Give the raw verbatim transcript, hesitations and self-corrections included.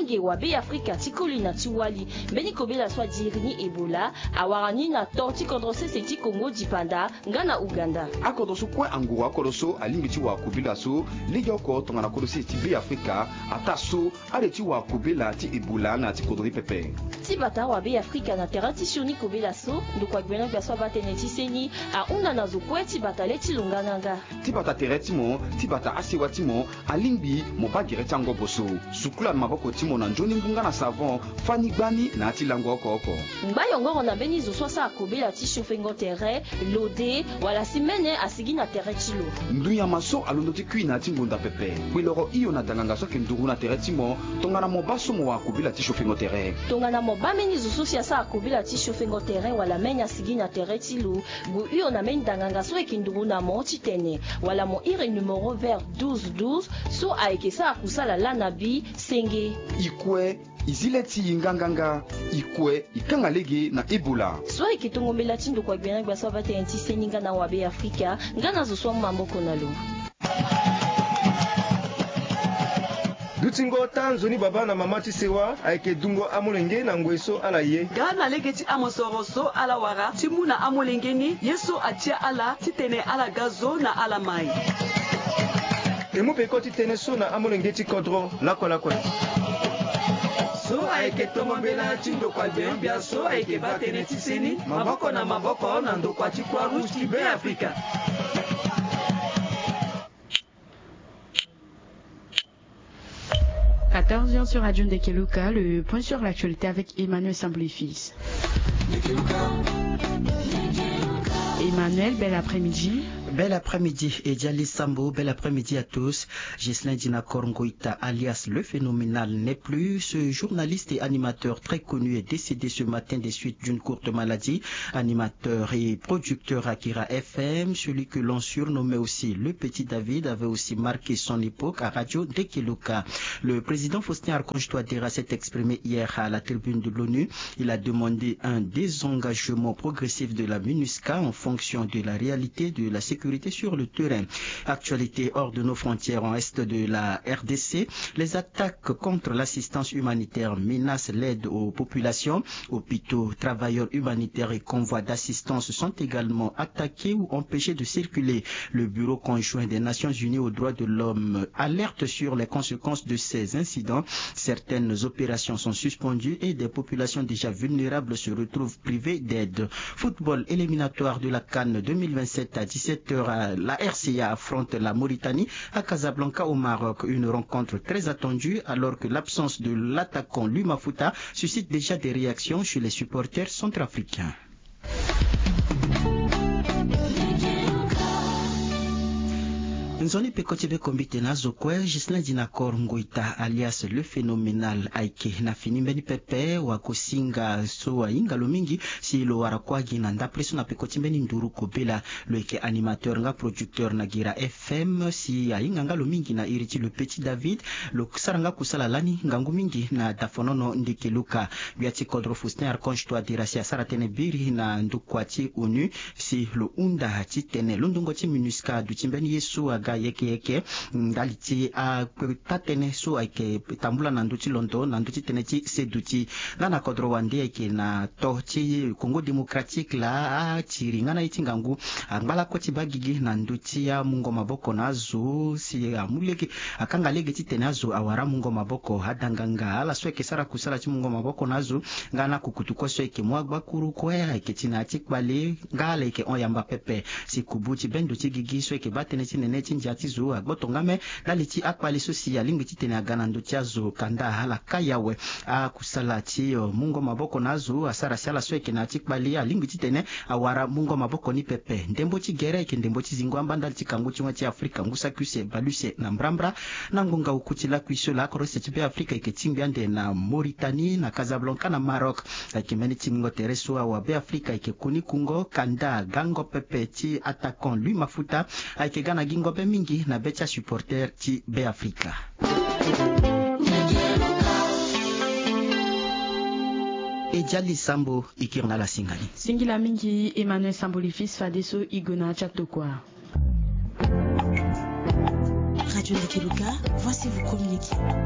Ge wa Be Afrika ti koli na ti wali. Mbeni kobela so adiri ni Ebola awara ni na to ti kodro sese ti Kongo dipanda nga na Uganda. Akodro so kue anguru akodro so alingbi ti wara kobela so legeoko tongana kodro sese ti Be Afrika ataa so ale ti wara kobela ti Ebola na ya ti kodro ni pepe. Ti bata wa Be Afrika na tere ti sioni kobela so ndokua gbena gbia so abaa tënë ti seni ahunda na zo kue ti bata le ti lo nganganga. Ti bata tere ti mo, ti bata asewa ti mo, alingbi mo baa gere ti angobo so. Sukula na maboko ti mo na nzoni ngu nga na savon, fani gbani na ya ti lango oko oko. Ngba yongoro na mbeni zo so asara kobela ti siofengo tere, lode, wala si mene asigi na tere ti lo. Ndu nyama so alondo ti kui na ya ti ngonda pepe. Kpeloro hio na danganga so ayeke nduru na tere ti mo, tongana mo baa so mo wara kobela ti siofengo tere. Tongana mo baa mbeni zo so si asara kobela ti siofengo tere wala mene asigi na tere ti lo, gue hio na mbeni danganga so ayeke nduru na mo titene wala mo iri numéro vert douze douze so ayeke sara kusala laa na bi senge. I kue, i zi le ti i nganganga, i kue, i kanga lege na Ebola. So ayeke tongo mbela ti ndokua gbena gbia so abaa tënë ti seni nga na wa Be Afrika, nga na zo so amu maboko na lo. Dutingo taa nzoni baba na mama ti sewa ayeke dungo amolenge na ngoi so ala ye. Nga na lege ti amosoro so ala wara ti mu na amolenge ni ye so atia ala titene ala ga zo na ala mai. E mu peko ti tënë so na amolenge ti kodro lakue lakue. So ayeke tongo mbela ti ndokua gbena gbia so ayeke baa tënë ti seni maboko na maboko na ndokua ti Croix Rouge ti Be Afrika. Quatorze heures sur Radio Ndekeluka, le point sur l'actualité avec Emmanuel Samblifis. Emmanuel, bel après-midi. Bel après-midi, Edjali Sambo, bel après-midi à tous. Ghislain Dinakor Ngoïta, alias le Phénoménal, n'est plus. Ce journaliste et animateur très connu est décédé ce matin des suites d'une courte maladie. Animateur et producteur à Kira F M, celui que l'on surnommait aussi le Petit David, avait aussi marqué son époque à Radio Ndekeluka. Le président Faustin Archange Touadéra s'est exprimé hier à la tribune de l'ONU. Il a demandé un désengagement progressif de la MINUSCA en fonction de la réalité de la sécurité sur le terrain. Actualité hors de nos frontières, en est de la R D C, les attaques contre l'assistance humanitaire menacent l'aide aux populations. Hôpitaux, travailleurs humanitaires et convois d'assistance sont également attaqués ou empêchés de circuler. Le Bureau conjoint des Nations Unies aux droits de l'homme alerte sur les conséquences de ces incidents. Certaines opérations sont suspendues et des populations déjà vulnérables se retrouvent privées d'aide. Football, éliminatoire de la CAN deux mille vingt-sept à dix-sept heures, la R C A affronte la Mauritanie à Casablanca au Maroc. Une rencontre très attendue alors que l'absence de l'attaquant Lui Mafuta suscite déjà des réactions chez les supporters centrafricains. Nzoni peko ti be kombite na azo kue, Ghislain Dinakor Ngoïta alias le Phénoménal ayeke na fini mbeni pepe. Wa kosinga so ahinga lo mingi si lo wara kua gi na ndapre so na peko ti mbeni nduru kobela. Lo yeke animateur nga producteur na Gira F M, si ahinga nga lo mingi na iri ti le Petit David. Lo sara nga kusala lani ngangu mingi na dafonono Ndekeluka. Gbia ti kodro Faustin Archange Touadéra si asara tënë biri na ndokua ti ONU si lo hunda titene londongo ti MINUSCA aduti mbeni ye so aga yeke yeke ndali ti ataa tënë so ayeke tambula na ndö ti londo na ndö ti tënë ti seduti. Nga na kodro wande ayeke na to ti Congo Démocratique laa atiri nga na ye ti ngangu angba lakue ti baa gigi na ndö ti amungo maboko na azo si amu lege, akanga lege titene azo awara amungo maboko, adanganga, ala so ayeke sara kusala ti mungo maboko na azo, nga na kukutu kue so ayeke mu agbakuru kue ayeke ti na ya ti kpale nga ala yeke hon yamba pepe. Si kubu ti bendo ti gigi so ayeke baa tënë ti nene ti ndia ti zo agboto nga me ndali ti akpale so si alingbi titene aga na ndö ti azo kanda ala kai awe. Akusala ti, eh, mungo maboko na azo asara si ala so ayeke na ya ti kpale alingbi titene awara mungo maboko ni pepe. Ndembo ti gere ayeke ndembo ti zingo amba ndali ti kangu ti wen ti Afrika ngu saki use bale use na mbrambra. Na ngonga oku ti lakui so lakoro use ti Be Afrika ayeke tingbi ande na Mauritanie na Casablanca na Maroc. Ayeke mbeni tingbingo tere so awa Be Afrika ayeke koni kungo kanda gango pepe ti attaquant Lui Mafuta ayeke ga na gingo be mingi na be ti asupporter ti Be Afrika. E jali sambo e kiri na ala singa ni. Singila mingi Emmanuel Sambo le fils fadeso e gue na ya ti atokua. Radio Ndekeluka, voici vous communiquer.